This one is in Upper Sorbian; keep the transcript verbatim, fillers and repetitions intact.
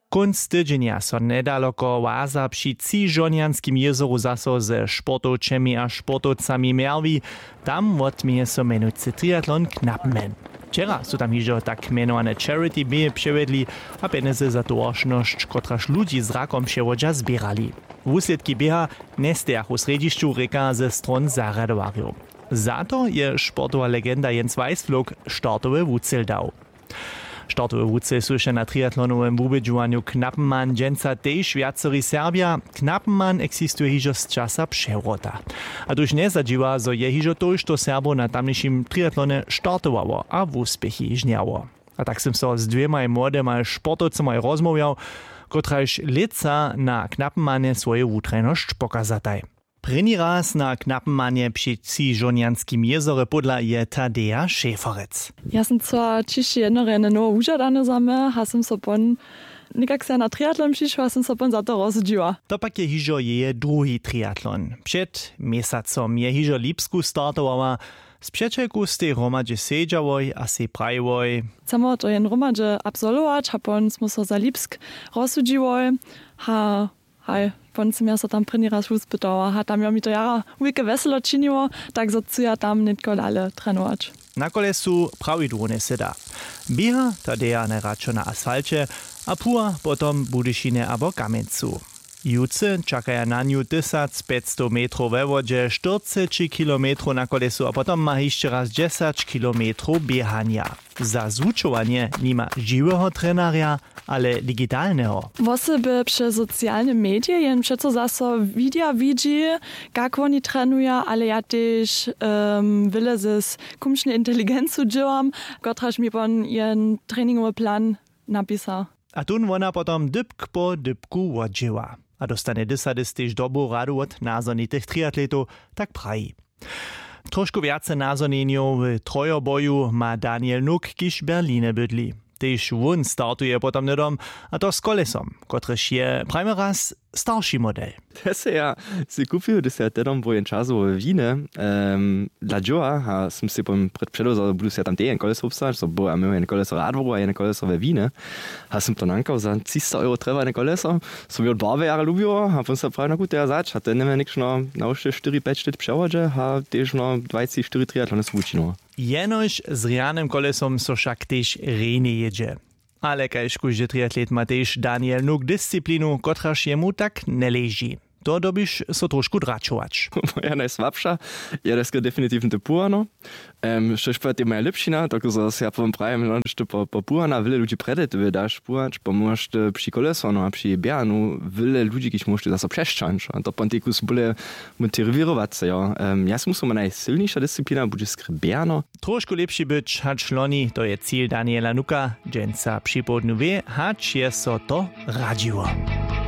Kónc tydźenja so njedaloko Łaza při Třižonjanskim jězoru zaso ze sportowčemi a sportowcami mjerwi. Tam wotměje so mjenujcy triatlon Knappenman. Wčera su tam hižo tak mjenowane charity běhy přewjedli a pjenjezy za towaršnosć, kotraž ludźi z rakom přewodźa, zběrali. Wuslědki běha njestejachu w srjedźišću, rěka ze stron zarjadowarjow. Za to je sportowa legenda Jens Weißflog startowy wucel dał. Startowy wucel słyša na triatlonowym wubědźowanju Knappenman dźensa tež wjaceri Serbja. Knappenman eksistuje hižo z časa přewrota. A tuž njezadźiwa, zo je hižo tójšto Serbow na tamnišim triatlonje startowało a wuspěchi žnjało. A tak sym so z dwěmaj młodymaj sportowcymaj rozmołwjał, kotrajž lětsa na Knappenmanje swoju wutrajnosć pokazataj. Prěni raz na Knappenmanje při Třižonjanskim jězorje pódla je Tadeja Šeferec. Ja sym chcyła ćišće jednorjene nowe wužadanje za mnje a sym so pon někak se na triatlon přišła a sym so pon za to rozsudźiła. To pak je hižo jeje druhi triatlon. Před měsacom je hižo w Lipsku startowała. Z přećelku stej hromadźe sedźałoj a sej prajiłoj: Chcemy to jen hromadźe absolwować a pon smy so za Lipsk rozsudźiłoj. A haj, pon sym ja so tam prěni raz wuspytała a tam jo mi to jara wulke wjeselo činiło, tak zo chcu ja tam nětko dale trenować. Na kolesu prawidłownje syda. Běha Tadeja najradšo na asfalće a phuła potom w Budyšinje abo Kamjencu. Jutře čakaja na nju tysacpjećstow metrow we wodźe, štyrceći kilometrow na kolesu a potom ma hišće raz dźesać kilometrow běhanja. Za zwučowanje nima žiweho trenarja, ale digitalneho. Wosoby přez socialne medije jen přeco zaso widja widźi, kak woni trenuja, ale ja tež um, wjele z kumšnej inteligencu dźěłam, kotraž mi pon jen treningowy plan napisa. A tón wona potom dypk po dypku wodźěła a dóstanje dysadys tež dobru radu wot nazhonitych triatletow, tak praji. Trošku wjace nazhonjenjow w trojoboju ma Daniel Nuk, kiž w Berlinje bydli. Tež wón startuje potom hnydom, a to z kolesom, kotrež je, prajmy raz, starši model. Te se ja sej kupił, hdyž se ja tehdom był jen časowo we Winy um, dla dźěła a sym sej potom předewzał, budu se ja tam tež jen koleso wobstać, zo był a měł jen koleso w Radworju a jen koleso we Winy. A sym to nankał za třista euro trjeba jen koleso, so mi wot barby jara lubiło a pon se prawi, no gut, ja zać a ten njeme někšno na wšće štyri pjeć lět přewodźe a tež no dwajci štyri triatlony su wučinował. Jenož z rjanym kolesom so wšak tež rjenje jědźe. Ale kaž kóždy triatlet ma tež Daniel Nuk disciplinu, kotraž jemu tak njeleži. To dyrbiš so trošku dračować. Moja najsłabša je deska definitivno te puhano. Um, štož pa te moja lěpšina, tako zo ja powiem prajem, no, što po, po puhana wjele ludźi prjedy ty daš puhać, pomóžeš ty při koleso, no a při běhanu wjele ludźi, kiž móžeš ty zaso přesćahnyć a to pon tekus bóle motiwirowace, jo. Um, ja sym musel, moja najsylniša disciplina budźe skrě běhano. Trošku lěpši być hač loni, to je cil Daniela Nuka. Dźensa připołdnju wě, hač je so to radźiło.